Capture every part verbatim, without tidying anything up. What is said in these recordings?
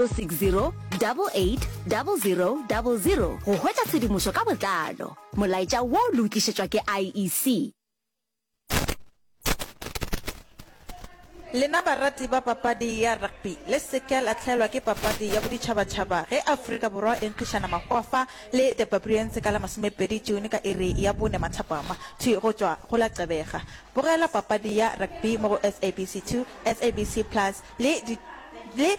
six zero double eight double zero double zero go hwetša tshedimošo ka botlalo. Molaetša wo le o tlišetšwa ke I E C. Lena barati ba papadi ya rugby, le se ke la hlaelwa ke papadi ya boditšhabatšhaba ge Afrika Borwa e nkgišana mahwafa le The Barbarians ka la masomepedi June ka iri ya bone mathapama, thwi go tšwa go la Gqeberha. Bogela papadi ya rugby mo go S A B C two, S A B C Plus le le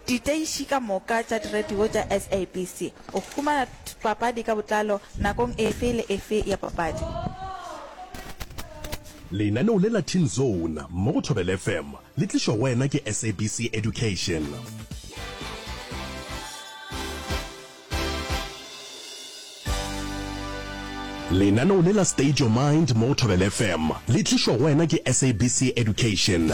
diteiši ka moka tša diradio tša S A B C. O humana papadi ka botlalo nakong efe le efe ya papadi. Lenaneo le la Teen Zone mo go Thobela F M le tlišwa go wena ke S A B C Education. Lenaneo le la State Your Mind mo go Thobela F M le tlišwa go wena ke S A B C Education.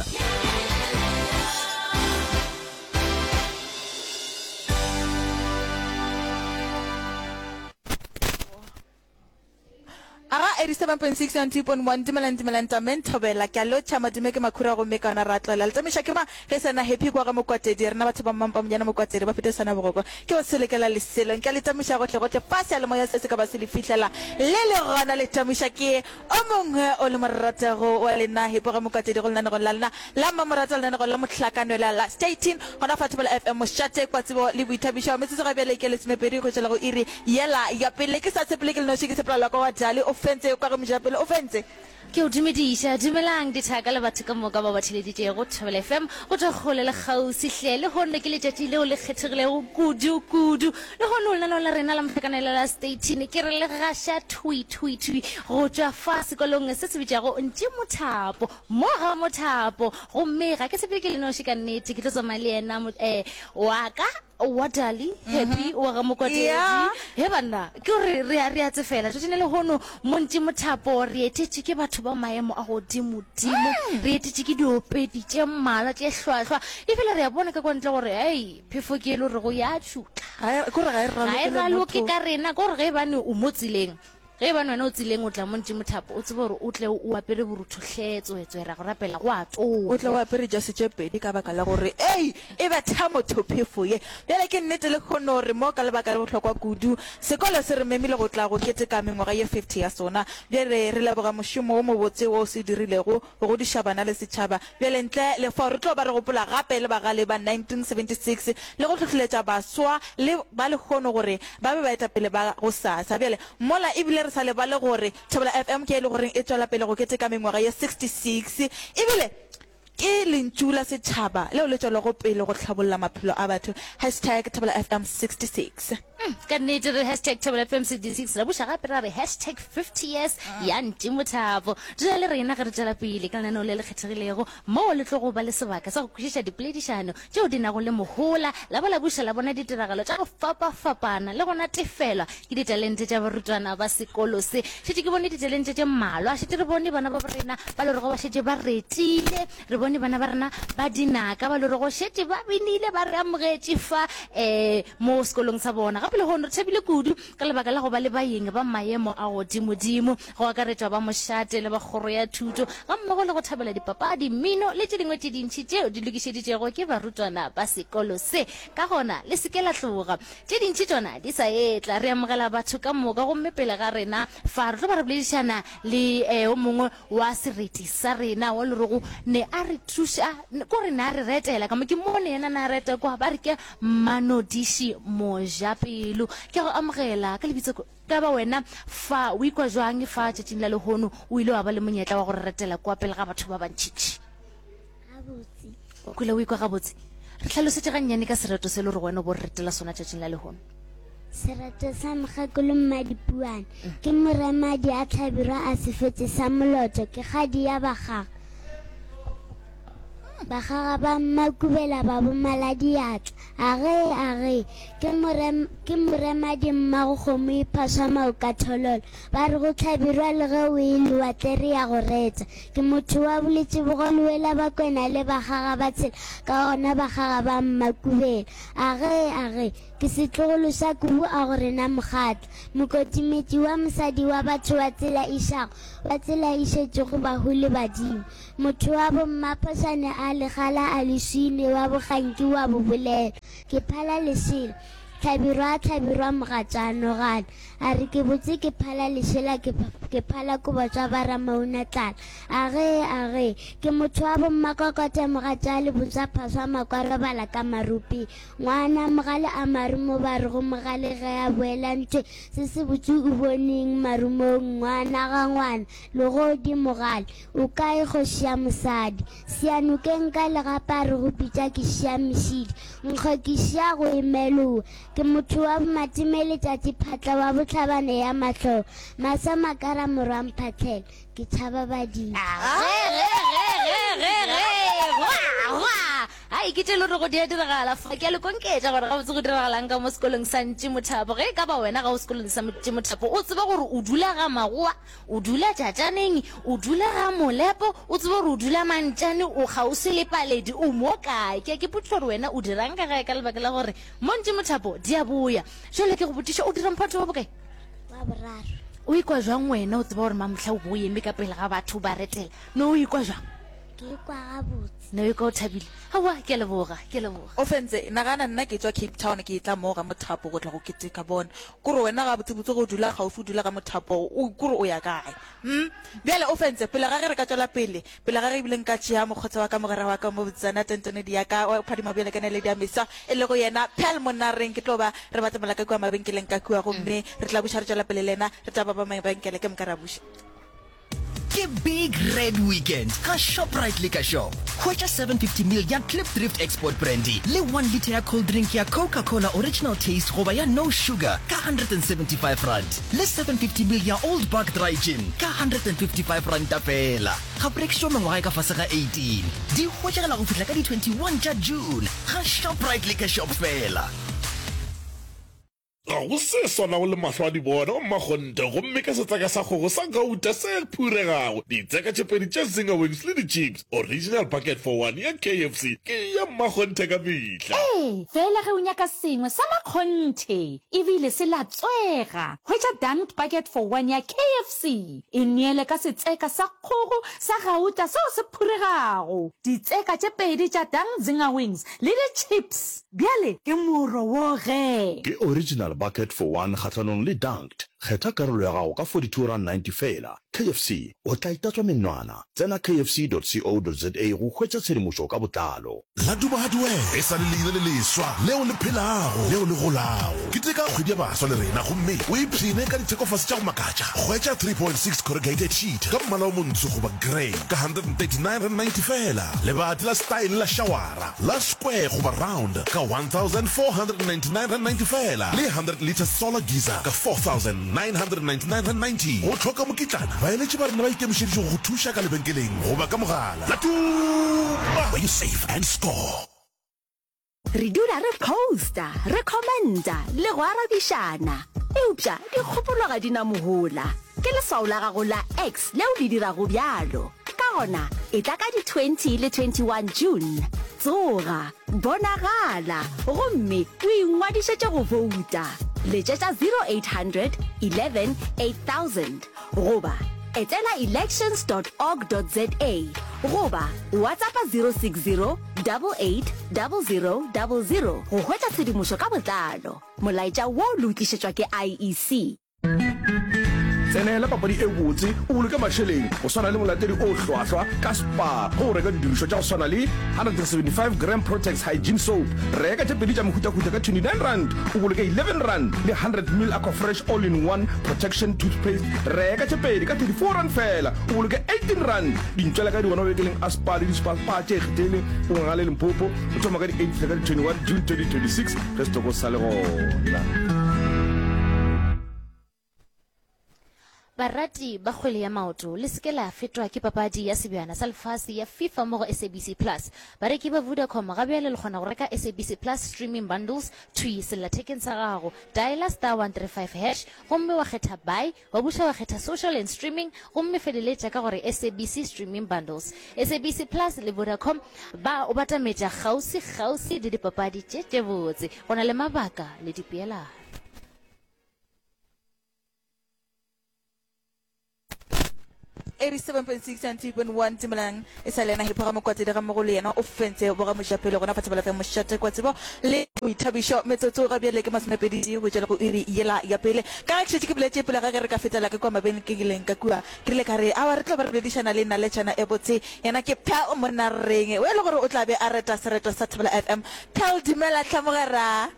Aga eighty-seven point six and two point one dumelang dumelang tameng thobela ke a lotšha madume ke makhura gomme ka ona ra tloela le tsamaiša ke ma ge sena Happy kwa ga Mokwatedi rena batho ba Mmampa Monyana Mokwatedi ba fete sana bogoko ke go selekela leselo nka le tamiša gohle gohle fa seyalemoya se se ka ba se le fihlela le le gona le tamiša ke o mongwe o le moratego wa lena Happy ga Mokwatedi go lenanegong la lena la mmamoratwa lenanegong la mohlakanwela la Stay Tuned gona fa Thobela F M mošate kwa tsebo le boithabišo metsotso ga bjale ke lesomepedi go tšwela go iri yela ya pele ke sa tshepele ke le noši ke tshepela lwa ka wa Dali o fentse kwa ge mojapele o fentse. Ke o dumediša. Dumelang dithaka le batho ka moka bao ba theeleditšego Thobela F M go tšwa kgole le kgauswi hle. Lehono ke letšatši leo le kgethegilego kudu kudu. Lehono lenaneo la rena la mohlakanelo la Staytini ke re le gaša thwi thwi thwi go tšwa fa sekolong se se bitšwago Ntši Mothapo mo ga Mothapo. Gomme ga ke sepele ke le noši ka nnete, ke tlo tsamaya le yena eh, wa ka wa Dali Happy wa ga Mokwatedi. Yeah. He banna, ke gore re a re a tsefela tšatšing le lehono mo Ntši Mothapo re etetše ke batho ba maemo a godimodimo, re etetše ke diopedi tše mmalwa tše hlwahlwa, ebile re a bona ka kwa ntle gore ei phefo ke e le gorego ya tšutla. Ga e kore ga e ga e raloke le raloke motho. Ka rena ke gore ge e bane o mo tseleng, ge e bane wena o tseleng o tla mo Ntši Mothapo, o tsebe gore o tle o apere borutho hle tswetswe ra go rapela go a O tle o tonya. Apere jase tše pedi ka baka la gore ei e betha motho phefo ye. Bjale ke nnete lehono re mo ka lebaka le bohlokwa kudu. Sekolo se re memile go tla go keteka mengwaga ye fifty ya sona. Bjale re leboga mošomo wo mobotse wo o se dirilego go godiša bana le setšhaba. Bjale ntle le fao re tlo ba re gopola gape le bagale ba nineteen seventy six le go hlohleletša baswa le ba lehono gore ba be baetapele ba gosasa. Bjale mola ebile re sa lebale gore Thobela F M ke e le goreng e tšwela pele go keteka mengwaga ye sixty six ebile ke lentšu la setšhaba leo le tšwelago pele go hlabolla maphelo a batho. Hashtag Thobela F M sixty six. Mm, ka nnete re hashtag Thobela F M sixty six ra buša gape ra re hashtag fifty years ya Ntši Mothapo. Dula le rena ge re tšwela pele ka lenaneo le le kgethegilego moo le tlo go ba le sebaka sa go kwešiša dipoledišano tšeo di nago le mohola, la ba la buša la bona ditiragalo tša go fapafapana le go natefelwa ke ditalente tša barutwana ba sekolo se. Šetše ke bone ditalente tše mmalwa, šetše re bone bana ba rena ba lorego ba šetše ba retile, re bone bana ba rena ba dinaka ba lorego šetše ba binile ba re amogetše fa um mo sekolong sa bona. Gape lehono re thabile kudu ka lebaka la go ba le baeng ba maemo a godimodimo, go akaretšwa ba mošate le ba kgoro ya thuto, gammogo le go thabela dipapadi, mmino le tše dingwe tše dintši tšeo di lokišeditšego ke barutwana ba sekolo se. Ka gona, le se ke la tloga. Tše dintši tšona di sa etla. Re amogela batho ka moka gomme pele ga rena fa re tlo ba re boledišana le o mongwe wa sereti sa rena wa lerego ne a re thuša ko re ne a re retela ka mo ke mone yena na reta kwa ba re ke Manodiši Mojapelo. Ke go amogela ka lebitso ka ba wena fa o ikwa jwang fa tšatšing la lehono o ile wa ba le monyetla wa go re retela kwa pele ga batho ba bantšintši? Gabotse. O kwele o ikwa gabotse? Re hlalosetše gannyane ka sereto se le gore wena o bo re retela sona tšatšing la lehono. Sereto sa mokgekolo Mmadipuane ke moremadi a hlabirwa a sefetse sa moloto ke kgadi ya bakgaga. Bakgaga ba Mmakubela ba bomaladiatla. Agee, agee, ke morem, ke moremadi mmago kgomo e phaswa maoka thololo. Ba re go hlabirwa le ge o e lewatle re ya go retsa. Ke motho wa boletšebogo lewela Bakwena le bakgaga ba tshela ka gona bakgaga ba Mmakubela. Agee, agee, ke setlogolo sa kubu a go rena mokgatla. Mokotimetši wa mosadi wa batho wa tsela išago, wa tsela e šetšego bahu le badimo. Motho wa bommaphošane a ga legala a leswine wa boganki wa bobolelo. Ke phala lešela. Hlabirwa a Hlabirwa mogatša nogana. A re ke botse ke phala lešela ke, ke phala kobo tša ba Ramauna tlala. Agee, agee. Ke motho wa bommakokote mogatša le botša phaswa makwa robala ka maropeng. Ngwana mogale a marumo ba re go mogale ge a boela ntwe se se botse o boneng marumong ngwana ga ngwana legodi mogale o kae kgoši ya mosadi Seyanokeng ka legapa re go pitša ke šia mešidi nkgo ke šia go emelowa ke motho wa bomatime letšatši phatla wa bohlabane ya mahlo masa makara morwa mphatlhela ke tšhaba badimo. Ai, ke tše le rego di a diragala fa. Ke a le konketša gore gabotse go diragalang ka mo sekolong sa Ntšimothapo. Ge e ka ba wena ga o sekolong sa Ntšimothapo, o tsebe gore o dula ga Magowa, o dula Tšatšaneng, o dula ga Molepo, o tsebe gore o dula Mantšane, o kgauswi le Paledi, o mo kae. Ke a ke potšiša gore wena o dirang ka gae ka lebaka la gore mo Ntšimothapo di a boya. Bjale ke go botšiša, o dira mphato wa bokae? Wa boraro. O ikwa bjang wena o tseba gore mamohla o bo o eme ka pele ga batho o ba retela? No o ikwa bjang? Ke ikwa gabotse. No ikwa o thabile? Aowa, ke a leboga, ke a leboga. Ofentse, nagana nna ke tšwa Cape Town ke etla mo ga Mothapo go tla go keteka bona. Kore wena gabotsebotse ge o dula kgaufsi o dula ga Mothapo o kore o ya kae? Hm? Bjale Ofentse, pele ga ge re ka tšwela pele, pele ga ge ebile nka tšea mokgotsa wa ka mogwera wa ka mo botsana tentenedi ya ka wa phadima bjale ka naledi ya mesa e lego yena Pearl Monareng ke tlo ba re batamela ka kua mabenkeleng ka kua gomme re tla buša re tšwela pele le yena re tla ba ba mabenkele ke moka ra buša. Ke Big Red Weekend ga Shoprite Liquor Shop. Hwetša seven fifty ml ya Klipdrift Export Brandy le one litre ya cold drink ya Coca-Cola Original Taste goba ya No Sugar ka hundred and seventy five rand le seven fifty ml ya Old Buck Dry Gin ka hundred and fifty five ranta feela. Ga go rekišwa mengwaga e ka fase ga eighteen. Di hwetšagala go fihla ka di twenty one tša June ga Shoprite Liquor Shop feela. Ga go se swanago le mahlo a di bona, o mmakgonthe, gomme ka setseka sa kgogo sa gauta se phuregago, ditseka tše pedi tša Zinger Wings le di-chips, original bucket for one ya K F C ke ya mmakgonthe ka mehla. Ee, fela ge o nyaka sengwe sa makgonthe e bile se latswega, hwetša Dunked Bucket for One ya K F C. E neele ka setseka sa kgogo sa gauta seo se phuregago, ditseka tše pedi tša Dunked Zinger Wings le di-chips. Bjale ke moro wo ge. Ke original bucket for one kgahlanong le dunked. Kgetha karolo ya gago ka forty two rand ninety feela. K F C, o tla itatswa menwana. Tsena K F C dot co dot za go hwetša tshedimošo ka botlalo. La Duba Hardware e sa le leina le leswa leo le phelago leo le golago. Keteka kgwedi ya baswa le rena gomme o ipshine ka dithekofase tša go makatša. Hwetša three point six corrugated sheet ka mmala o montsho goba grey ka hundred and thirty nine rand ninety feela. Lebati la style la shawara la square goba round ka one thousand four hundred and ninety nine rand ninety feela le hundred litre solar geyser ka four thousand nine hundred ninety nine rand ninety. Go hloka mokitlana, baeletši ba rena ba ikemišeditše go go thuša ka lebenkeleng goba ka mogala. La Tuma, where you save and score. Re dula re posta, re commenta le go arabišana. Eupša dikgopolo ga di na mohola. Ke leswao la gago la X leo le dirago bjalo. Ka gona, etla ka di twenty le twenty one June. Tsoga, bonagala, gomme o ingwadišetše go bouta. Letšetša zero eight hundred eleven eight thousand goba etela elections dot org dot za goba WhatsAppa zero six zero double eight double zero double zero go hwetša tshedimošo ka botlalo. Molaetša wo le o tlišetšwa ke I E C. Tsenela papadi e botse, o boloke mašeleng go swana le molatedi o hlwahlwa ka Spar ge o reka didirišwa tša go swana le hundred and seventy five gram Protex Hygiene Soap. Reka tše pedi tša mehutahuta ka twenty nine rand, o boloke eleven rand, le hundred mil Aquafresh All-in-One Protection Toothpaste. Reka tše pedi ka thirty four rand fela, o boloke eighteen rand. Dintšwela ka di gona mabenkeleng a Spar le di-Spar Spar tše ikgethileng go Ngangale Limpopo go thoma ka di eight fihla ka di twenty one June twenty twenty six ge setoko se sa le gona. Barati ba kgwele ya maoto, le se ke la fetwa ke papadi ya Sebjana sa Lefase ya FIFA mo go S A B C Plus. Bareki ba Vodacom ga bjale le kgona go reka S A B C Plus streaming bundles thwi sellathekeng sa gago. Dialer star one three five hash gomme wa kgetha Buy, wa buša wa kgetha Social and Streaming gomme feleletša ka gore S A B C Streaming Bundles. S A B C Plus le Vodacom ba o batametša kgauswi-kgauswi le dipapadi tše tše botse. Go na le mabaka le dipeelano. Eighty-seven point six and two point one Dumelang e sa le yena Hipho Ramokwatedi ga mmogo le yena o fentse boramojapele gona fa Thobela F M mošate kwa tsebo le boithabišo. Metsotso ga bjale ke masomepedi tee go tšwa le go iri yela ya pele. Ka ge ke šetše ke boletše pele ga ge re ka fetela ka kua mabenkeleng ka kua, ke rile ka re aowa re tlo ba re boledišana le naletšana e botse. Yena ke Pearl Monareng o e le gore o tla be a reta sereto sa Thobela F M. Pearl dumela hle mogwera.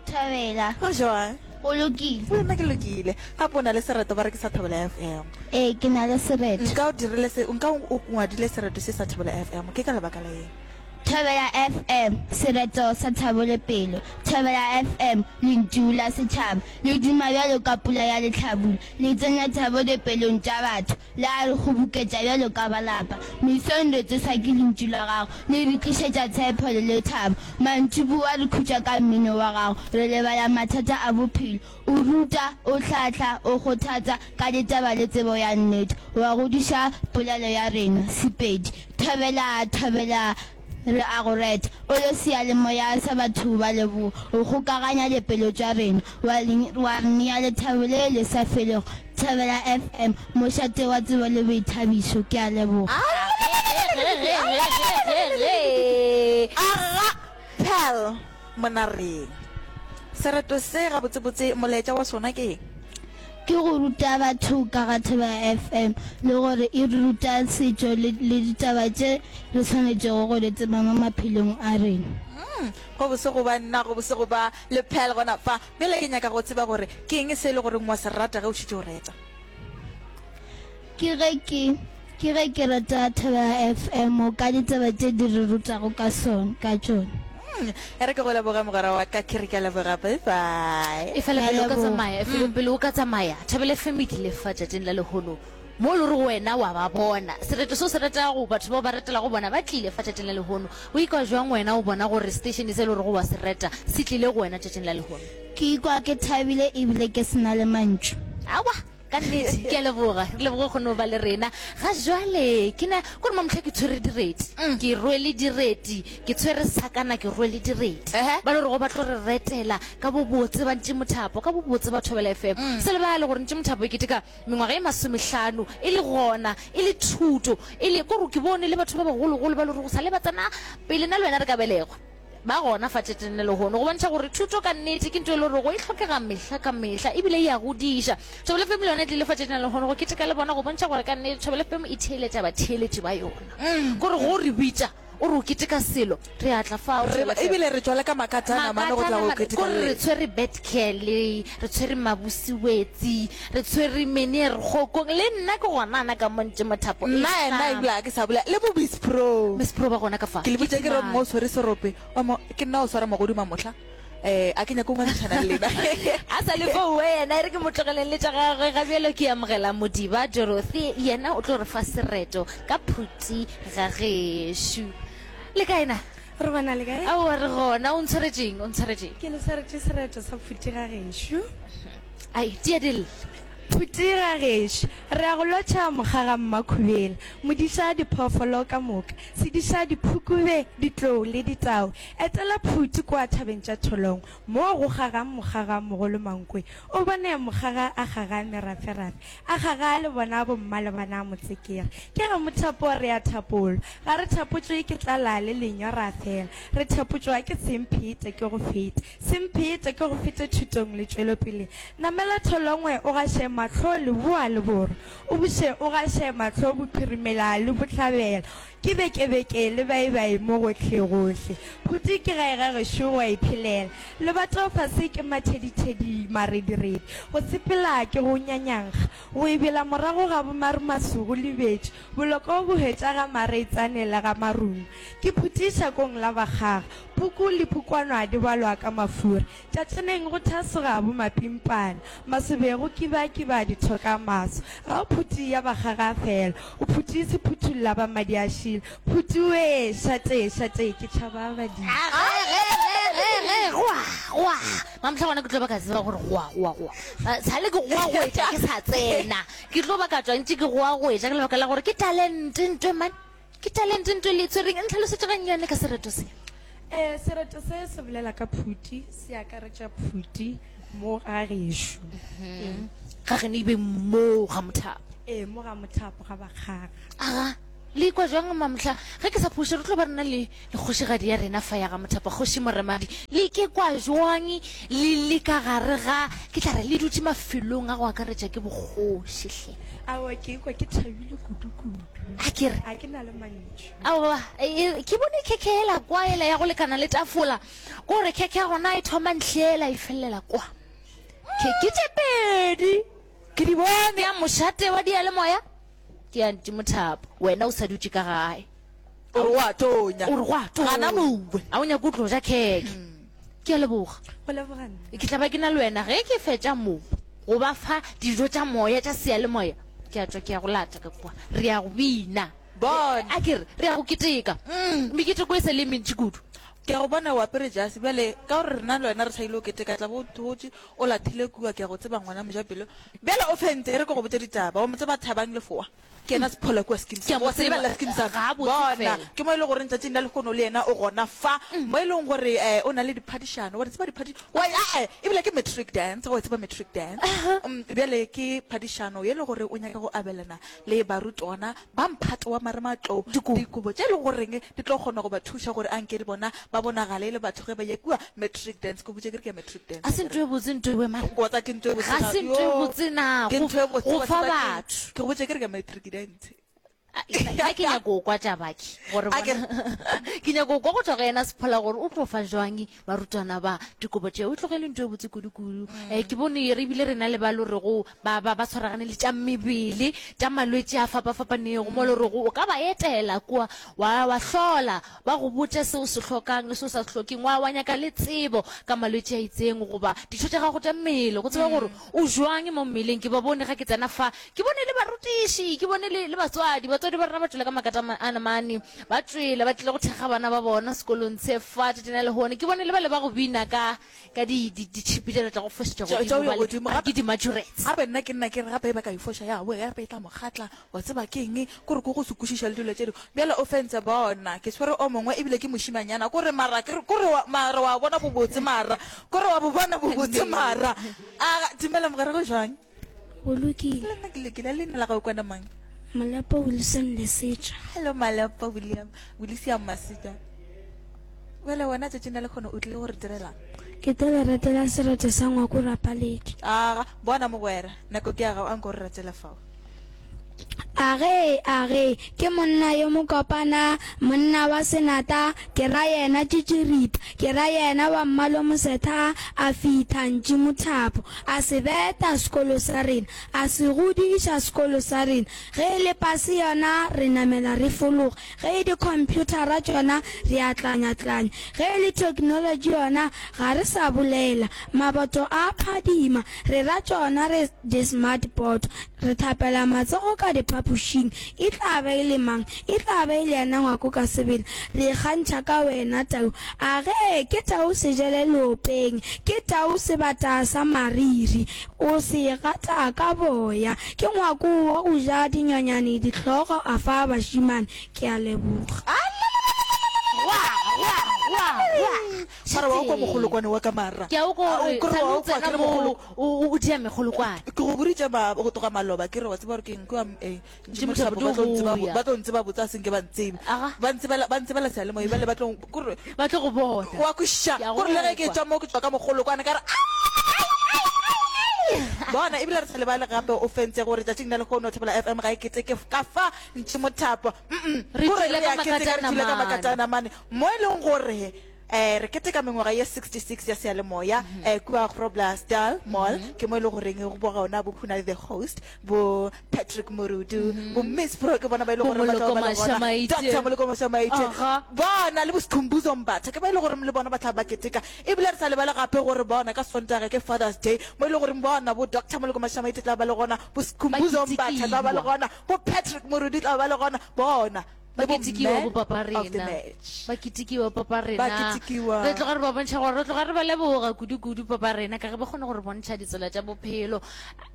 Thobela. Go jwang? Go lokile. Le nna ke lokile. Gape o na le sereto ba re ke sa Thobela F M. Ee, ke na le sereto. Nka o dirile se, nka o ngwadile sereto se sa Thobela F M, ke ka lebaka la eng? Thobela F M, sereto sa thabo le pelo. Thobela F M, lentšu la setšhaba. Le duma bjalo ka pula ya lehlabula. Le tsenya thabo dipelong tša batho. Le a re kgoboketša bjalo ka ba lapa. Mesong re tsošwa ke lentšu la gago, le re tlišetša tshepo le lethabo. Mantšiboa re khutša ka mmino wa gago, re lebala mathata a bophelo. O ruta, o hlahla, o kgothatsa ka ditaba le tsebo ya nnete. Wa godiša polelo ya rena, Sepedi. Thobela, thobela. Re a go reta, O le seyalemoya sa batho ba leboa. O kgokaganya dipelo tša rena, wa wa re nea lethabo le le sa felego. Thobela F M, mošate wa tsebo le boithabišo. Ke a leboga. Aga Pearl Monareng. Sereto se gabotsebotse molaetša wa sona ke eng? Ke go ruta batho ka ga Thobela F M le gore e re ruta setšo le le ditaba tše re swanetšego go di tseba mo maphelong a rena. Umm, go bose go ba nna, go bose go ba le Pearl gona fa. Bjale ke nyaka go tseba gore ke eng se e le goreng wa se rata ge o šetše o reta? Ke ge ke, ke ge ke rata Thobela F M ka ditaba tše di re rutago ka sona, ka tšona. Mm, e re ke go leboge mogwera wa ka, ke re ke a leboga, bye bye. Efela Ke a pele o ka leboga. tsamaya, efela pele o ka tsamaya, Thobela F M e tlile fa tšatšing la lehono mo e le gore wena wa ba bona. Sereto se o se retago, batho bao ba retelago bona ba tlile fa tšatšing la lehono. O ikwa jwang wena o bona gore station se e le gorego wa se reta se tlile go wena tšatšing la lehono? Ke ikwa ke thabile ebile ke se na le mantšu. Aowa, ka nnete, ke a leboga. Re leboge go no ba le rena. Ga jwale, ke na, kore mamohla ke tshwere direti. Ke rwele direti. Ke tshwere sakana, ke rwele direti. Ba le gorego ba tlo re retela ka bobotse ba Ntši Mothapo, ka bobotse ba Thobela F M. Se lebale gore Ntši Mothapo e keteka mengwaga e masomehlano e le gona, e le thuto, e le, kore ke bone le batho ba bagologolo ba le gorego sa le ba tsena pele nna le wena re ka belegwa. Ba gona fa tšetšeng le lehono go bontšha gore thuto ka nnete ke ntho e le gorego e hlokega mehla ka mehla ebile e a godiša. Thobela F M le yona e tlile fa tšetšeng la lehono go keteka le bona go bontšha gore ka nnete Thobela F M e theeletša batheeletši ba yona. Kore go re bitša o re o keteka selo, re a tla fao Re Thobela F M. ebile re tšwa le ka makatana mane go tla Makatana go mane, keteka kore le re lena. tshwere Betcare, re tshwere Mabusiwetsi, re tshwere Meneer Kgokong, le nna ke gona ana ka mo ntše mothapo e Nna yena hlama. ebile ga ke sa bolela le bo Miss Pro. Miss Pro ba gona ka fa. Ke le Ke botša ke re timane. mo o tshwere serope, wa mo, ke nna o swara mogodu mamohla. Eh, a ke nyake go ngangišana le lena. A sa le foo yena, e re ke mo tlogeleng le tša gagwe. Ga bjalo ke amogela Modiba Dorothy, yena o tlo re fa sereto ka phuti ga gešo. Le kae na? Re bona le kae? Aowa re gona. O ntshwaretšeng? O ntshwaretšeng? Ke le swaretše sereto sa phuti ga gešo. Ai, tia di lle. Phuti ga gešo. Re a go lotšha mokgaga Mmakhubela, modiša diphoofolo ka moka, sediša diphukube, ditlou le ditau. Etela Phuti kua thabeng tša Tholong, moo go kgagang mokgaga mogolo Mankwe. O bone mokgaga a kgaga meraferafe, a kgaga le bona bomma le bana motsekere. Ke ge mothapo re a thapolwa. Ga re thapotšwe ke tlala le lenyora fela, re thapotšwa ke semphete ke go fete. Semphete ke go fete thutong le tšwelopeleng. Namela Tholongwe o gaše mahlo leboa le borwa, o buše o gaše mahlo bophirimela le bohlabela. Ke bekebeke le baibai mo gohlegohle. Phuti ke gae ga gešo go a iphelela. Lebato fase ke mathedithedi marediredi. Go sepela ke go nyanyankga. Go ebela morago ga bomarumasu go lebetše. Boloko bo hwetša ga mareitsane le ga marung. Ke phuti šakong la bakgaga. Puku le pukwanwa di balwa ka mafura. Tšatšaneng go thasoga bomapimpana. Masobeng go kibakiba dithoka maso. Ga o phuti ya bakgaga fela. O phuti sephuthulla ba madi a šila. Phuti wee, šate, šate, ke tšhaba badimo. Goa, goa. Mamohla gona ke tlo ba ka tseba gore goa, goa, goa. Sale ke goa goetša ke sa tsena. Ke tlo ba ka tšwa ntše ke goa goetša ka lebaka la gore ke talente ntwe man. Ke talente ntwe le e tshwereng. Ntlhalosetše gannyane ka sereto se. Eh, sereto se se bolela ka phuti, se akaretša phuti mo ga gešo. Ee. Ga geno e be mo ga Mothapo. Ee, mo ga Mothapo ga Bakgaga. Aga, le ikwa jwang Mamohla? Ge ke sa phoše re tlo ba re na le le kgošigadi ya rena fa ya ga Mothapo, Kgoši Moremadi. Le ikekwa jwang le le ka gare ga, ke tla re le dutše mafelong a go akaretša ke bokgoši hle? Aowa, ke ikwa ke thabile kudu-kudu. A ke re. Ga ke na le mantšu. Aowa, e, ke bone khekhe yela kwa, yela ya go lekana le tafola. Ko re khekhe ya gona e thoma ntlhela e felelela kwa. Khekhe tše pedi. Ke di bone. Ke ya mošate wa diyalemoya, ke ya Ntšimothapo. Wena o sa dutše ka gae. O re go a tonya. O re go a tonya. Gana mowe. A o nyake o tlo ja khekhe. Ke a leboga. Go leboga nna. Ke tla ba ke na le wena ge ke fetša mo go ba fa dijo tša moya tša seyalemoya. Ke a tšwa ke ya go lata ka kua. Re ya go bina. Bona. A ke re, re ya go keteka. Meketeko e sa le e mentši kudu. Ke a go bona o apere jase. Bjale, ka gore rena le wena re sa ile go keteka, tla bo o thotše, o lathile kua. Ke a go tseba, ngwana mojapelo. Bjale o fentse, e re ke go botše ditaba. O mo tseba Thabang Lefoa? Ke yena Sephola kua Skeem Ke a Sam. mo Wa se tseba. lebelela Skeem Sam? Gabotse Bona, fela. ke mo e le goreng tšatšing la lehono le yena o gona fa, mo e leng gore um o na le diphadišano. Wa di tseba diphadi-, wa, a-e, ebile ke matric dance. Wa e tseba matric dance? Um, bjale ke phadišano ye e le gore o nyaka go abelana le barutwana ba mphato wa marematlou dikobo tše e le goreng di tlo kgona go ba thuša gore anke le bona ba bonagale e le batho ge ba ye kua matric dance. Ke botše ke re ke ya matric dance. Ga se ntho e botse ntho ewe mara. Wa tsa ke ntho e botse Ga na? se ntho e Yo, botse na ke go ntho e botse, go wa fa tseba ke eng? batho. Ke go botše ke re ke ya matric dance. Nna ke nyako go kwa tša baki gore A ke bona ke nyako go kwa go tšwa go yena Sephola gore o tlo fa jwang barutwana ba dikobo tšeo. E tlogele ntho e botse kudu-kudu. Um ke bone re ebile re na le ba lo rego ba ba ba tshwaragane le tša mebele, tša malwetši a fapa-fapanego, mo lo rego o ka ba etela kua wa wa hlola ba go botša se o se hlokang le se o sa se hlokeng, wa wa nyaka le tsebo ka malwetši a itseng goba ditho tša gago tša mmele go tseba gore o jwang mo mmeleng. Ke ba bone ga ke tsena fa, ke bone le barutiši, ke bone le le batswadi. Batswadi ba rena ba tšwele ka makata a namane, ba tšwele ba tlile go thekga bana ba bona sekolong se fa tšatšing la lehono. Ke bone le bale ba go bina ka ka di di ditšhipi tšela tša go fošetša Tša tša godimo go ya bale godimo. ba re Gape ke di-majorets. gape nna ke nna ke re gape ba ka e foša ya boya gape e tla mo kgatla, wa tseba ke eng, kore ke go se kwešiša le dilo tše dingwe. Bjale o fentse bona, ke tshwere o mongwe ebile ke mošimanyana, kore mara ke re kore wa mara wa bona bobotse mara, kore wa bo bona bobotse mara. A dumela mogwera go jwang? Go lokile. Le nna ke lokile, leina la gago kwana mang? Malepo Wilson Lesetša. Hello Malepo William, William Masetša. Bjale wena tšatšing la lekgono o tlile go re direlang? Ke tlo le retela sereto sa Ngwako Rapaledi. Aga, bona mogwera, nako ke ya gago, a nko re retele fao. Age, age, ke monna yo mokopana, monna wa senata, ke ra yena Tšitširipa, ke ra yena wa Mmalomosetha, a fitha ntši mothapo, a se beta sekolo sa rena, a se godiša sekolo sa rena. Ge e le pase yona, re namela re fologa, ge e dikhomphuthara tšona, re a tlanya-tlanya, ge e le theknolotši yona, ga re sa bolela. Maboto a phadima, re ra tšona re di-smart board, re thapela matsogo ka diphapošing. E tla be e le mang? E tla be e le yena Ngwako ka sebele. Re ikgantšha ka wena, Tau. A ge, ke tau sejele leopeng, ke tau sebata sa mariri, o se gata ka boya. Ke Ngwako wa go ja dinonyane dihlogo a fa bašemane. Ke a leboga. Mara wa kwa mogolokwane wa ka mara. Ke a o kwa A o gore kry-a wa sa o kwa tsena ke re mo mogolo- o o dia megolokwane. Ke go boditše ma go tloga maloba ke re wa tseba gore ke eng kua eh, Ntši Mothapo Mothapo ba tlo ntseba di go ya. ba tlo ntseba botse a senke ba ntsebe. Aga. Ba ntsebela ba ntsebela seyalemoya bjale ba tlo kore Ba tlo go bona. wa kwešiša Ke a go kore le ge ke kwa. tšwa mo ke tšwa ka mogolokwane ka re bona ebile re sa lebale gape o fentse gore tšatšing la lehono Thobela F M ga e keteke ka fa Ntši Mothapo. Mm-mm. Re Kore tšwele re ka a keteka, re tšwele ka makatana makatana mane mo e leng gore eh re keteka mengwaga ye sixty-six ya seyalemoya, eh kua Groblersdal Mall, ke mo e le goreng go boga ona bo Khuna the host, bo Patrick Morudu, bo Miss Pro, ke bona ba e le Bo gore ba tla Moloko ba le gona. Mashamaite. Doctor Moloko Mashamaite. Aha. Bona le bo Sikhumbuzo Mbatha, ke ba e le gore le bona ba tla ba keteka. Ebile re sa lebale gape gore bona ka Sontaga ke Father's Day, mo e le gore bona bo Doctor Moloko Mashamaite tla ba le gona, bo Sikhumbuzo Mbatha tla ba le gona, bo Patrick Morudu tla ba le gona, bona Ba le bo ketekiwa man bo papa of the rena. match. Ba ketekiwa papa Ba rena. ketekiwa. Re tloga re ba bontšha gore re tloga re ba leboga kudu-kudu papa rena ka ge ba kgone gore bontšha ditsela tša bophelo.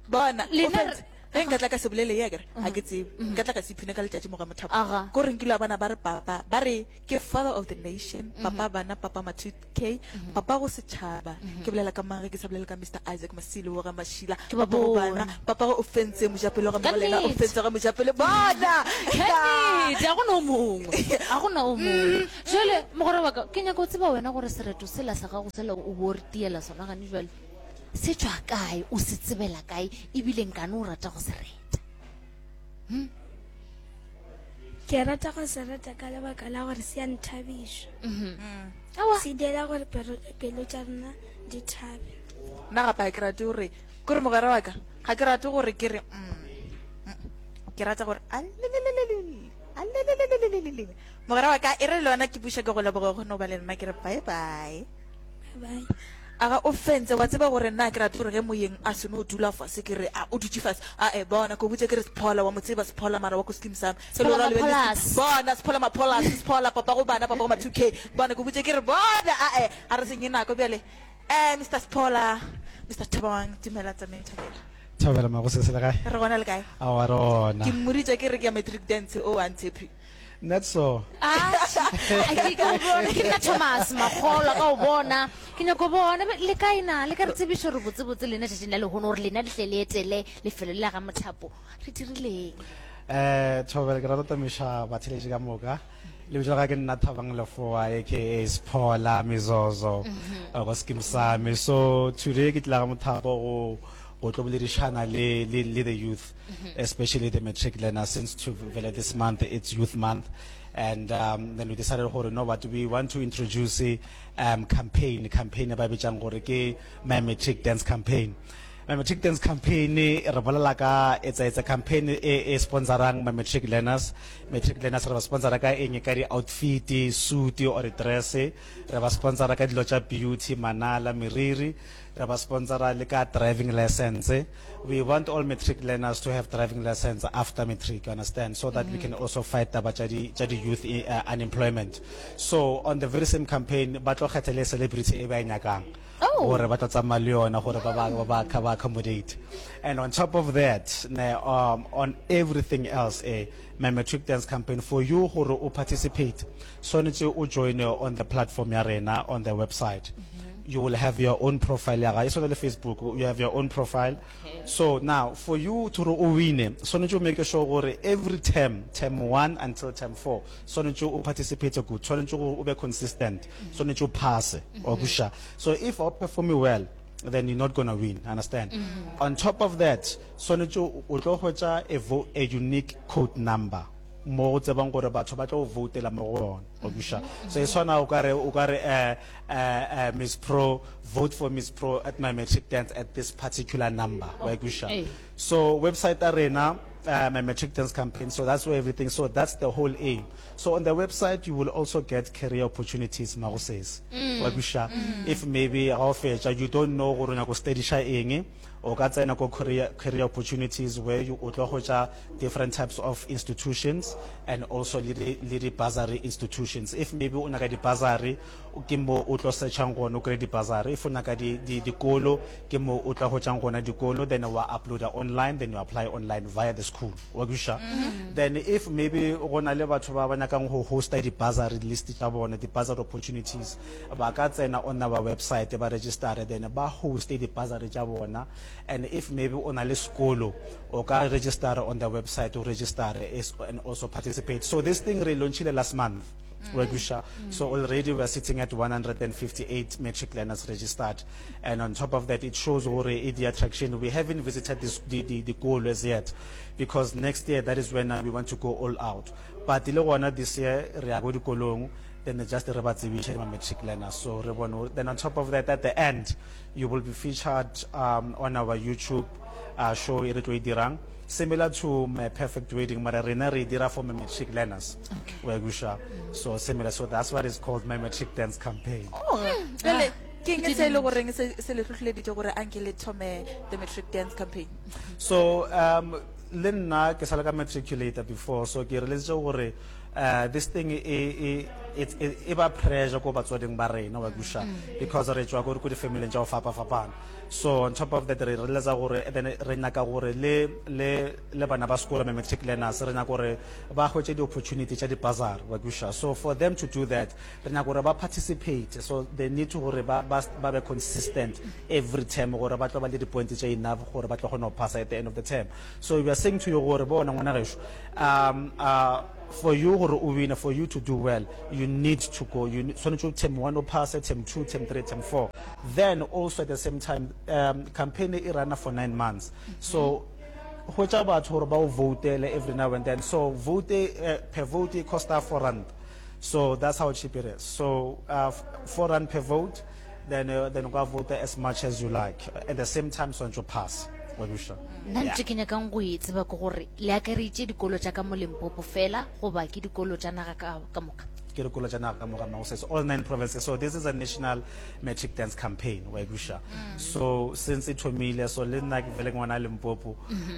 Bona, o Lena fentse. Ge nka tla ka se bolele ye akere, ga ke tsebe. Nka tla ka se iphine ka letšatši mo ga Mothapo. Aga. Ko re nkile wa bona ba re papa, ba re ke father of the nation, papa bana, papa ma two K, papa go setšhaba. Ke bolela ka mang ge ke sa bolele ka Mister Isaac Masilo wa ga Mašila, Ke ba papa go bana, bone. papa go o fentse mojapele wa ga Ka Mogolena, o nnete. fentse ga mojapele. Bona! Ka nnete, ga go na o mongwe. Ga go na o mongwe. Jwale, mogwera wa ka, ke nyaka go tseba wena gore sereto sela sa gago sela o bo o re tiela sona gane jwale, se tšwa kae, o se tsebela kae, ebile nkane o rata go se reta? Hm? Ke rata go se reta ka lebaka la gore se a nthabiša. Mhm. Aowa. Se dira gore pelo, pelo tša rena di thabe. Nna gape ga ke rate gore, ke re mogwera wa ka, ga ke rate gore ke re, mm, mm, ke rata gore, alelelelelele, alelelelelele. Mogwera wa ka, e re le wena ke buša ke go leboge go no ba le nna, ke re bye bye. Bye bye. Aga o fentse, wa tseba gore nna ke rate gore ge moyeng a seno dula fase ke re, a o dutše fase, a e bona, ke o botše ke re Sephola, wa mo tseba Sephola mara wa ko skim sa me. Sephola Mapholas. Bona, Sephola Mapholas, Sephola, papa go bana, papa go ma two K. Bona, ke o botše ke re bona, a e, a re senye nako bjale. Eh, Mister Sephola, Mister Thabang, dumela tsameng Thabela. Thabela Magosese le kae? Re gona le kae? Aowa re gona. Ke mmoditše ke re ke ya matric dance, o a ntshepe. Not so. Ke ke o bona, ke nna Thomas Makgolwa ka o bona. Ke nyako bona be le kae na? Le ka re tsebišo re botse botse lena tšatšing la lehono gore lena le tle le etele lefelo le la ga Mothapo. Re dirileng? Eh, Thobela, ke rata go tamiša batheeletši ka moka. Lebitso la ka ke nna Thabang Lefoa, aka Sphola Mezozo, go Skeem Saam. So today ke tla ga Mothapo go go tlo boledišana le, le, le the youth, especially the matric learners, since to vele this month it's youth month. And um, then we decided gore no, but we want to introduce um, campaign, campaign e ba bitsang gore ke My Matric Dance Campaign. My Matric Dance Campaign re bolela ka, it's a, it's a campaign e, e sponsorang my matric learners. Matric learners re ba sponsora ka eng? Ka di outfit, suit or dress. Re ba sponsora ka dilo tša beauty, manala, meriri. Re ba sponsora le ka driving license. We want all matric learners to have driving license after matric, you understand, so that we can also fight taba tša di, tša di youth uh, unemployment. So on the very same campaign, ba tlo kgetha le celebrity e ba e nyakang. Oh. Gore ba tlo tsamaya le yona gore ba ba, ba ba, ba accommodate. And on top of that, ne, um, on everything else, eh, my matric dance campaign, for you gore o participate, swanetše o join on the platform ya rena on the website. You will have your own profile ya gago. E swana le Facebook, you have your own profile. Okay. So now, for you to re o wine, swanetše o make sure gore every term, term one until term four, swanetše o participate good, swanetše gore o be consistent, swanetše o pass, wa kwešiša. So if o perform well, then you're not gonna win, understand? On top of that, swanetše o tlo hwetša a, vo-, a unique code number mo go tsebang gore batho ba tlo voutela mo go yona, wa kwešiša. So e swana o ka re, o ka re, eh, eh, eh, Miss Pro, vote for Miss Pro at my matric dance at this particular number, wa kwešiša. Ee. So website ya rena, uh, my matric dance campaign, so that's where everything, so that's the whole aim. So on the website you will also get career opportunities, Magosese, wa kwešiša. If maybe ga o fetša you don't know gore o nyaka go studiša eng, o ka tsena ko career, career opportunities where you o tlo hwetša different types of institutions and also le di, le di bursary institutions. If maybe o nyaka di bursary, ke mo o tlo searchang gona o kry di bursary. If o nyaka di, di, dikolo, ke mo o tlo hwetšang gona dikolo, then wa uploada online, then you apply online via the school, wa kwešiša. Then if maybe go na le batho ba ba nyakang go hosta di bursary list tša bona, di bursary opportunities, ba ka tsena on our website, ba register, then ba hoste di bursary tša bona. And if maybe o na le sekolo, o ka register on the website, o register and also participate. So this thing re launchile last month, wa kwešiša. So already we are sitting at one hundred and fifty-eight matric learners registered, and on top of that it shows gore e di attraction. We haven't visited this, the, the, the goal as yet, because next year that is when we want to go all out. But le gona this year re ya go dikolong, then just re ba tsebiše ma matric learners. So re bone. Then on top of that, at the end you will be featured, um, on our YouTube, uh, show e re tlo e dirang, similar to My Perfect Wedding, mara rena re dira for my matric learners. Okay. Wa kwešiša. So similar, so that's what is called My Matric Dance Campaign. Oh, bjale ke eng se e le goreng se, se le hlohleleditše gore anke le thome the Matric Dance Campaign? So um, le nna ke sa le ka matriculator before, so ke realisitse gore, uh, this thing e, e, it's e e ba pressure ko batswading ba rena wa kwešiša because re tšwa ko ko di-family tša go fapa-fapana so on top of that re realize gore then re nyaka gore le le le bana ba sekolo ma matric learners re nyaka gore ba hwetše di-opportunity tša di-bursary wa kwešiša so for them to do that re nyaka gore ba participate so they need to gore ba ba ba be consistent every term gore ba tlo ba le di-point tše enough gore ba tlo kgona go passa at the end of the term so we are saying to you gore bona ngwana gešo um uh, for you gore o wine for you to do well you need to go you need- tshwanetse term one o pass term two term three term four then also at the same time um, campaign e runa for nine months so hwetša batho gore ba o votele every now and then so vote uh, per vote e costa four rand so that's how cheap it is so uh, f- four rand per vote then uh, then o ka vote as much as you like at the same time swantse o pass wa kwešiša nna ntho ke nyakang go e tseba ke gore le akareditše dikolo tša ka mo limpopo fela goba ke dikolo tša naga ka ka moka ke dikolo tša naga ka moka mma all nine provinces so this is a national matric dance campaign wa kwešiša so since e thomile so le nna ke vele ke ngwana limpopo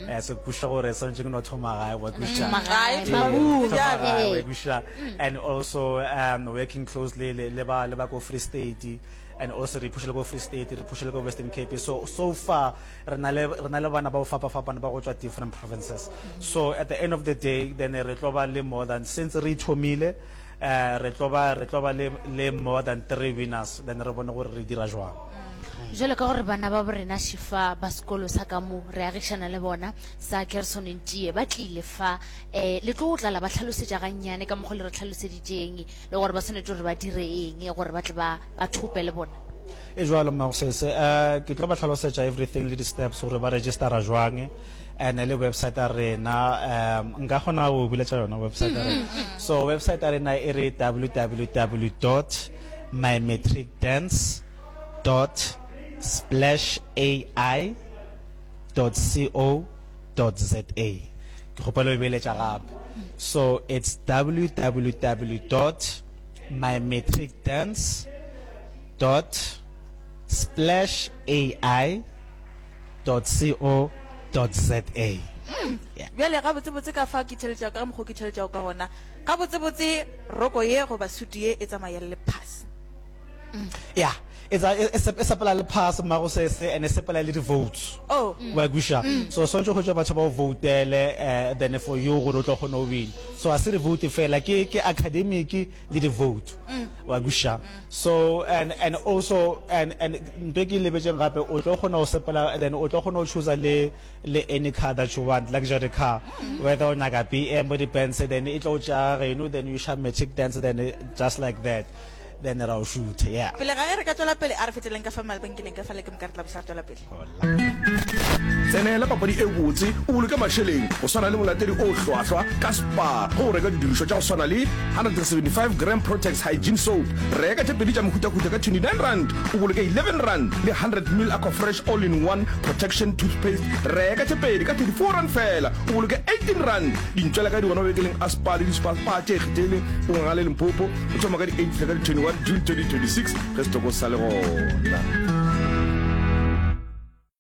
eh so kwešiša gore swantse ke no thoma gae wa kwešiša Thoma gae, Eh, mabung. thoma gae, wa Eh. kwešiša and also um working closely le le ba le ba ko Free State and also re pushile ko Free State re pushile ko Western Cape so so far re na le re na le bana ba go fapa-fapana ba go tswa different provinces so at the end of the day then re tlo ba le more than since re thomile eh re tlo ba re tlo ba le le more than three winners then re bone gore re dira jwang jalo ka gore bana ba borena šifa ba sekolo sa ka mo re agišana le bona sa Gerson Ntšie ba tlile fa um le tlo go tlala ba tlhalosetša gannyane ka mokgwa le re tlhaloseditšeng le gore ba tshwanetse gore ba dire eng gore ba tle ba ba thope le bona e jwalo mmagosese um ke tlo ba tlhalosetša everything le di-steps gore ba registera jwang and le website ya rena um nka kgona go buletša yona website ya rena so website ya rena e re www dot mymatricdance dot splash ai dot co dot za ke kgopela o e beeletša gape so it's www dot mymatricdance dot splash ai dot co dot za bjale gabotsebotse ka fa ke theletšago ka mokgwa ke theletšago ka gona gabotsebotse roko ye goba sutu ye e tsamaya le pass yeah e tsa- e e e sepela le pass mmago sese and e sepela le di-votes oh wa kwešiša so swantse go tšwa batho ba o votele uh, then for you gore o tlo kgona go wina so a se re vote fela ke ke academic le di-vote wa kwešiša so and and also and and ntho e ke e lebetseng gape o tlo kgona go sepela then o tlo kgona go choosa le le any car that you want luxury car whether o nyaka BM or di-Benz then e tlo o tšea geno then you share matric dance then eh, just like that then ra o shoot yeah pele ga ge re ka tswela pele a re feteleng ka fa mabenkeleng ka fa le ke moka re tla bosa re tswela pele tsenela papadi e botse o boloke mašeleng go swana le molatedi o hlwahlwa ka spar go reka didirišwa tša go swana le one seventy five gram protex hygiene soap reka tše pedi tša mehutahuta ka twenty nine rand o boloke eleven rand le hundred mil aquafresh all in one protection toothpaste reka tše pedi ka thirty four rand fela o boloke eighteen rand dintšwela ka di gona mabenkeleng a spar le di-spar tše kgethegileng o ngwaga le limpopo o thoma ka di eight ka di twenty one june twenty twenty six ge setoko sa le gona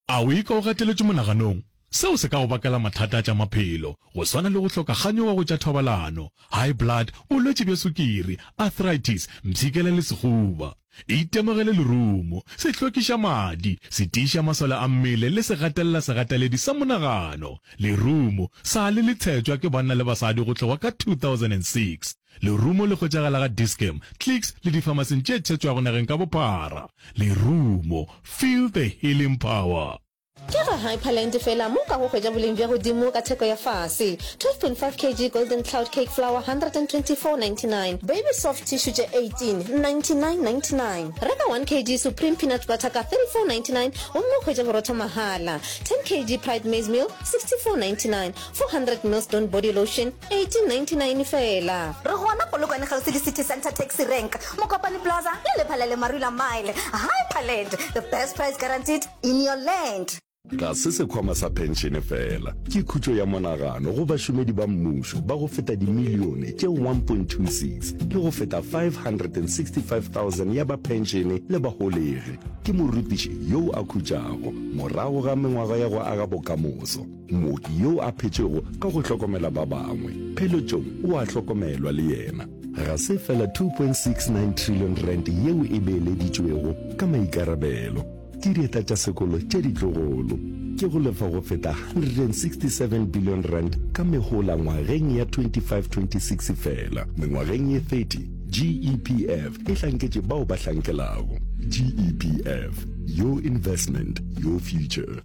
A o ikwa o gateletšwe monaganong? Seo se ka go bakela mathata a tša maphelo, go swana le go hloka kganyogo go tša thobalano, high blood, bolwetši bja sukiri, arthritis, mpshikela le sehuba. Itemogele lerumo, se hlwekiša madi, se tiiša masole a mmele le se gatelela segateledi sa monagano. Lerumo sa le le tshetšwa ke banna le basadi go tloga ka two thousand and six. Lerumo le hwetšagala ga Dis-Chem, Clicks le difamasing tše tshetšwago nageng ka bophara. Lerumo, feel the healing power. Ke ga Hyperland fela mo o kago hwetša boleng bja godimo ka theko ya fase. twelve point five kg Golden Cloud Cake Flour one twenty four ninety nine, Baby Soft Tissue tše eighteen ninety nine ninety nine. Reka one kg Supreme Peanut Butter ka thirty four ninety nine gomme o hwetše borotho mahala. ten kg Pride Maize Meal sixty four ninety nine, four hundred mils Dawn Body Lotion eighteen ninety nine fela. Re gona Polokwane kgauswi le City Centre Taxi Rank, Mokopane Plaza le Lephalale Marula Mile. Hyperland, the best price guaranteed in your land. Ga se sekhwama sa phenšene fela, ke khutšo ya monagano go bašomedi ba mmušo ba go feta dimilione tše one point two six le go feta five hundred and sixty five thousand ya ba phenšene le baholegi. Ke morutiši yo a khutšago morago ga mengwaga ya go aga bokamoso, mooki yo a phetšego ka go hlokomela ba bangwe. Pheletšong o a hlokomelwa le yena. Ga se fela two point six nine trillion rand yeo e beeleditšwego ka maikarabelo ke dieta tša sekolo tše ditlogolo, ke go lefa go feta one hundred and sixty seven billion rand ka mehola ngwageng ya twenty five twenty six fela. Mengwageng ye thirty, G E P F e hlanketše bao ba hlankelago. G E P F, your investment, your future.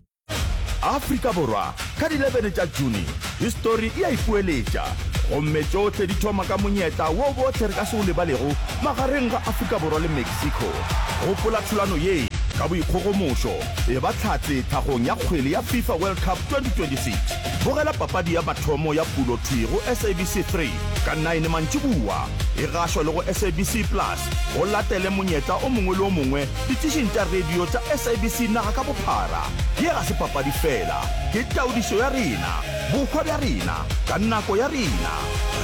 Afrika Borwa, ka di eleven tša June, histori e a ipoeletša, gomme tšohle di thoma ka monyetla wo bohle re ka se o lebalego magareng ga Afrika Borwa le Mexico. Gopola thulano ye ka boikgogomošo, eba hlatse tlhagong ya kgwele ya FIFA World Cup twenty twenty-six. Bogela papadi ya mathomo ya pulo thwi go S A B C three ka nine mantšiboa, e gašwa le go S A B C Plus. Go latele monyetla o mongwe le o mongwe ditišing tša radio tša S A B C naga ka bophara. Ye ga se papadi feela, ke taodišo ya rena, bohwa bja rena, ka nako ya rena.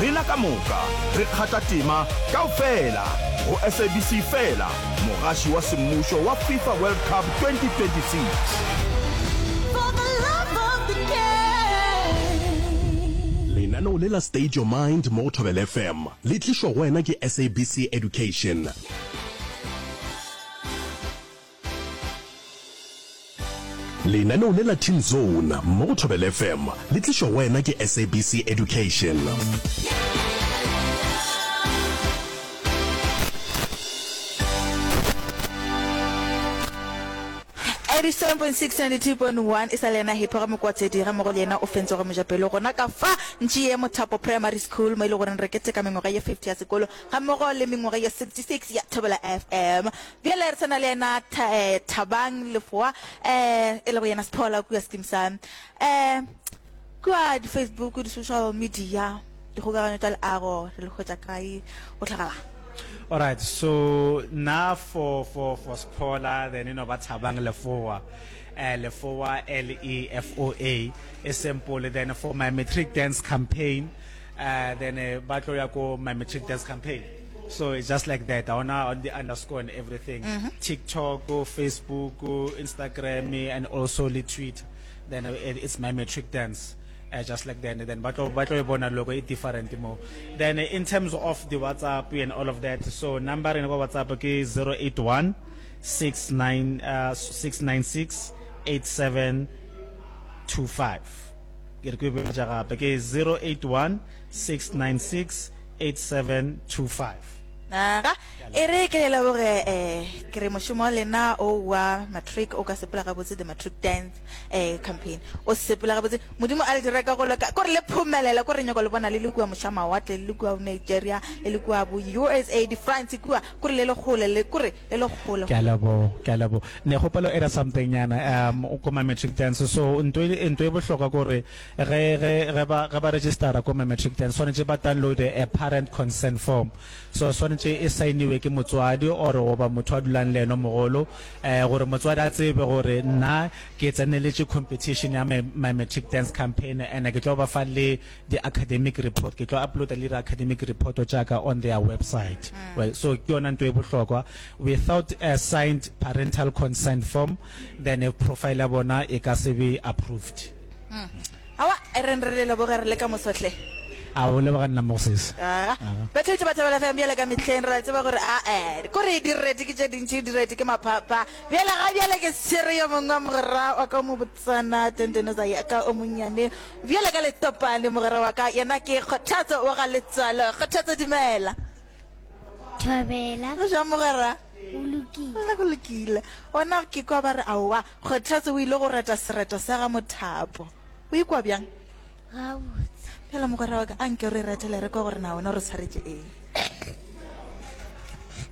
Rena ka moka re kgatha tema kaofela go S A B C feela, mogaši wa semmušo wa FIFA World Cup twenty twenty-six. Lenaneo le la State Your Mind mo go Thobela F M le tlišwa go wena ke S A B C Education. Lenaneo le la Teen Zone mo go Thobela F M le tlišwa go wena ke S A B C Education. eighty-seven point six, ninety-two point one e sa le yena Hippo ga Mokwatedi ga mmogo le yena o fentse go mojapelo gona ka fa ntši ye Mothapo Primary School mo e le goreng re keteka mengwaga ye fifty ya sekolo ga mmogo le mengwaga ye sixty-six ya Thobela F M. Bjale re sana le yena Tha-, eh, Thabang Lefoa, eh, e lego yena Sephola kua Skeem Saam. Eh, kua di-Facebook, di-social media, dikgokaganyo tša leago re le hwetša kae go hlagala? All right, so now for, for, for Sephola, then you know ba Thabang Lefoa, uh, Lefoa, L E F O A, is simple. Then for my matric dance campaign, uh, then, uh, ba tlo ya ko my matric dance campaign. So it's just like that. I wanna on the underscore and everything. Mm-hmm. TikTok, Facebook, Instagram, and also the Twitter. Then, uh, it, it's my matric dance. Uh, just like that. And then but but bona logo e different mo. Then, uh, in terms of the WhatsApp and all of that, so number in WhatsApp ke zero eight one six nine, uh, six nine six eight seven two five. Ke re ke botša gape ke zero eight one six nine six eight seven two five. Aga, e re ke le leboge, eh, ke re mošomo wa lena o wa matric o ka sepela gabotse, the matric dance, eh, campaign o sepela gabotse. Modimo a le dire ka go loka, kore le phomelela, kore nyako le bona le le kua mošamawatle, le le kua Nigeria, le le kua bo U S A, di France kua, kore le le kgole, le kore le le kgole. Ke a leboha, ke a leboha. Ne kgopelo era something nyana, um, o ko ma matric dance. So ntho e, ntho e bohlokwa kore ge, ge, ge ba, ge ba registera ko ma matric dance, swanetše ba download a parent consent form. So swanetše e saeniwe ke motswadi or goba motho a dulang le yena mogolo, eh, gore motswadi a tsebe gore nna ke tseneletše competition ya my, my matric dance campaign, and ke tlo ba fa le the academic report, ke tlo uploada le academic report tša ka on their website. Mm. Well, so ke yona ntho e bohlokwa. Without a signed parental consent form, then a profile ya bona e ka se be approved. Mm. Awa, e reng re le leboge re le ka mosohle. A o leboga nna Moses. Aga. Aga. Batheetši ba Thobela F M bjale ka mehleng re a tseba gore a, eh, kore direti ke tše dintši, direti ke maphapha. Bjale ga bjale ke tshwere yo mongwe wa mogwera wa ka o mo botsana, Tentenosa ya ka o monnyane. Bjale ka letopane mogwera wa ka, yena ke Kgothatso wa ga Letswalo. Kgothatso, dumela. Thobela. Go jwang mogwera? O lokile. Nna go lokile. Ona ke kwa ba re aowa, Kgothatso o ile go reta sereto sa ga Mothapo. O ikwa bjang? Gabotse. Phela mogwera wa ka, a nke re retele re kwa gore na wena o re tshwaretše eng.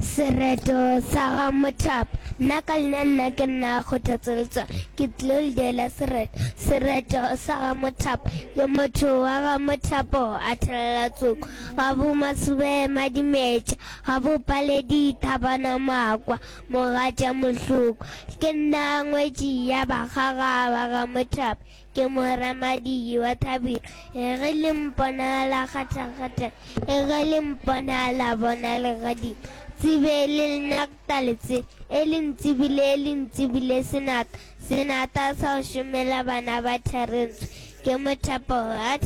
Sereto sa ga Mothapo. Nna ka leina nna ke nna Kgothatso Letswalo. Ke tlilo le diela sereto. Sereto sa ga Mothapo. Ke motho wa ga Mothapo a thelela tsoko. Ga bo Masube Madimetša. Ga bo Paledi Thabana Makwa. Mogatša Mohloko. Ke nna ngwetši ya bakgaga ba ga Mothapo. Ke moramadi wa Thabile. Ge le mpona la kgatha-kgatha, ge le mpona la bona legadima. Tsebe le nna taletse, e le ntsebile, e le ntsebile senata. Senata sa go šomela bana ba Tharentswe. Ke Mothapo a